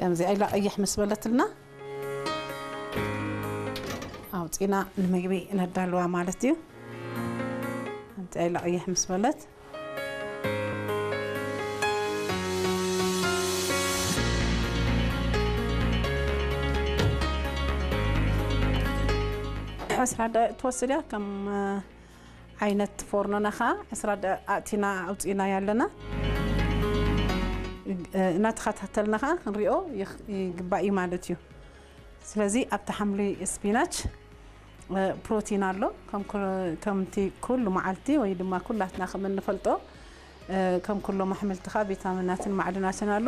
ከምዚኣ ኢላ ቀይሕ ምስ በለትልና ኣውፂና ንምግቢ ነዳልዋ ማለት እዩ። ከምዚኣ ኢላ ቀይሕ ምስ በለት ዕስራ ደቂቕ ትወስድ እያ። ከም ዓይነት ፎርኖና ኸዓ ዕስራ ደቂቕ ኣእቲና ኣውፂእና ያለና እናተኸታተልና ኸዓ ክንሪኦ ይግባእ እዩ ማለት እዩ። ስለዚ ኣብቲ ሓምሊ ስፒናች ፕሮቲን ኣሎ። ከምቲ ኩሉ መዓልቲ ወይ ድማ ኩላትና ከም እንፈልጦ ከም ኩሎም ኣሕምልትኻ ቪታሚናትን ማዕድናትን ኣሎ።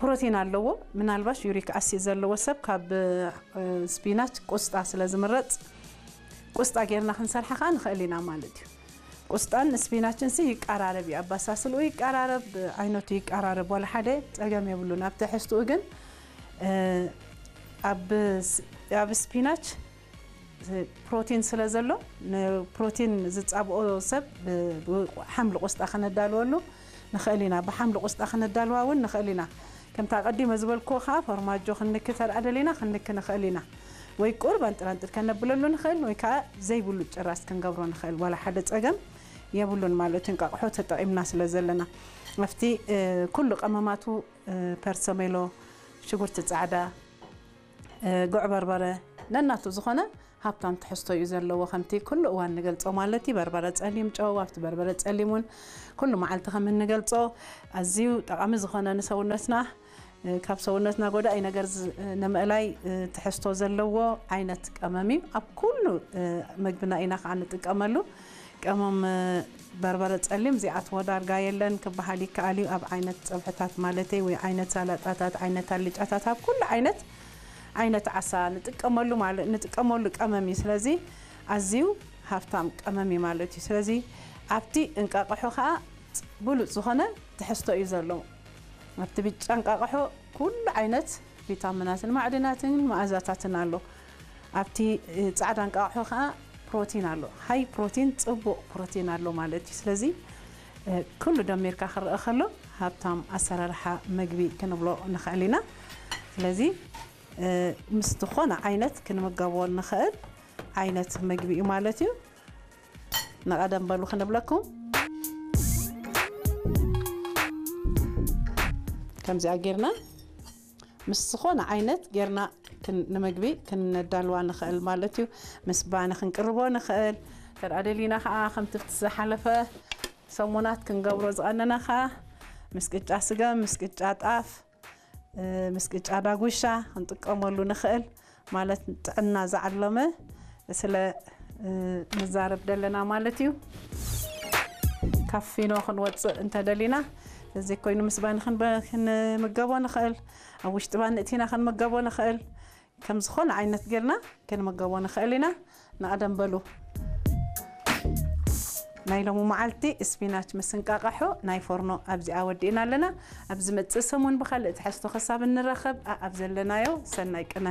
ፕሮቲን ኣለዎ። ምናልባሽ ዩሪክ ኣሲድ ዘለዎ ሰብ ካብ ስፒናች ቁስጣ ስለ ዝምረፅ ቁስጣ ጌርና ክንሰርሓ ከዓ ንኽእል ኢና ማለት እዩ። ቁስጣን ስፒናችን ሲ ይቀራረብ እዩ፣ ኣባሳስልኡ ይቀራረብ፣ ዓይነቱ ይቀራረብ፣ ዋላ ሓደ ፀገም የብሉን። ኣብ ትሕዝትኡ ግን ኣብ ስፒናች ፕሮቲን ስለ ዘሎ ንፕሮቲን ዝፃብኦ ሰብ ሓምሊ ቁስጣ ከነዳልወሉ ንኽእል ኢና። ብሓምሊ ቁስጣ ከነዳልዋ እውን ንኽእል ኢና። ከምታ ቀዲመ ዝበልክዎ ከዓ ፎርማጆ ክንንኪ ተርኣ ደሊና ክንንኪ ንኽእል ኢና። ወይ ቁሩብ ኣንጥራንጥር ከነብለሉ ንኽእል ወይ ከዓ ዘይብሉ ጭራስ ክንገብሮ ንኽእል። ዋላ ሓደ ፀገም የብሉን ማለት እንቃቕሖ ተጠቒምና ስለ ዘለና ኣብቲ ኩሉ ቀመማቱ ፐርሰሜሎ፣ ሽጉርቲ ፃዕዳ፣ ጉዕ በርበረ ነናቱ ዝኾነ ሃብታም ትሕዝቶ እዩ ዘለዎ። ከምቲ ኩሉ እዋን ንገልፆ ማለት እዩ። በርበረ ፀሊም ጨው ኣብቲ በርበረ ፀሊም እውን ኩሉ መዓልቲ ከም እንገልፆ ኣዝዩ ጠቓሚ ዝኾነ ንሰውነትና ካብ ሰውነትና ጎዳኢ ነገር ንምእላይ ትሕዝቶ ዘለዎ ዓይነት ቀመም እዩ። ኣብ ኩሉ ምግብና ኢና ከዓ ንጥቀመሉ። ቀመም በርበረ ፀሊም ዚኣትዎ ዳርጋ የለን ክበሃል ይከኣል እዩ። ኣብ ዓይነት ፀብሕታት ማለተይ ወይ ዓይነት ሳላጣታት፣ ዓይነት ኣልጫታት፣ ኣብ ኩሉ ዓይነት ዓይነት ዓሳ ንጥቀመሉ ማለት ንጥቀመሉ ቀመም እዩ። ስለዚ ኣዝዩ ሃብታም ቀመም እዩ ማለት እዩ። ስለዚ ኣብቲ እንቃቕሖ ከዓ ብሉፅ ዝኾነ ትሕዝቶ እዩ ዘለዎ። ኣብቲ ብጫ እንቃቕሖ ኩሉ ዓይነት ቪታሚናትን ማዕድናትን መኣዛታትን ኣሎ። ኣብቲ ፃዕዳ እንቃቕሖ ከዓ ፕሮቲን ኣሎ። ሃይ ፕሮቲን ፅቡቕ ፕሮቲን ኣሎ ማለት እዩ። ስለዚ ኩሉ ደሚርካ ክረአ ከሎ ሃብታም ኣሰራርሓ ምግቢ ክንብሎ ንኽእል ኢና። ስለዚ ምስ ዝኾነ ዓይነት ክንምገቦ ንኽእል ዓይነት ምግቢ እዩ ማለት እዩ። ንቐደም በሉ ክንብለኩም ከምዚኣ ጌርና ምስ ዝኾነ ዓይነት ጌርና ንምግቢ ክነዳልዋ ንኽእል ማለት እዩ። ምስ ባኒ ክንቅርቦ ንኽእል። ተርኣ ደሊና ከዓ ከምቲ ዝሓለፈ ሰሙናት ክንገብሮ ዝቐነና ከዓ ምስ ቅጫ ስገም፣ ምስ ቅጫ ጣፍ፣ ምስ ቅጫ ዳጉሻ ክንጥቀመሉ ንኽእል ማለት ጥዕና ዝዓለመ ስለ ንዛረብ ደለና ማለት እዩ። ካብ ፊኖ ክንወፅእ እንተደሊና እዚ ኮይኑ ምስ ባኒ ክንምገቦ ንኽእል፣ ኣብ ውሽጢ ባኒ እቲና ክንምገቦ ንኽእል። ከም ዝኾነ ዓይነት ጌርና ክንምገቦ ንኽእል ኢና። ንቐደም በሉ ናይ ሎሚ መዓልቲ ስፒናች ምስ እንቃቕሖ ናይ ፎርኖ ኣብዚኣ ወዲእና ኣለና። ኣብ ዝመፅእ ሰሙን ብኻልእ ትሕዝቶ ክሳብ እንራኸብ ኣኣብ ዘለናዮ ሰናይ ቅነ።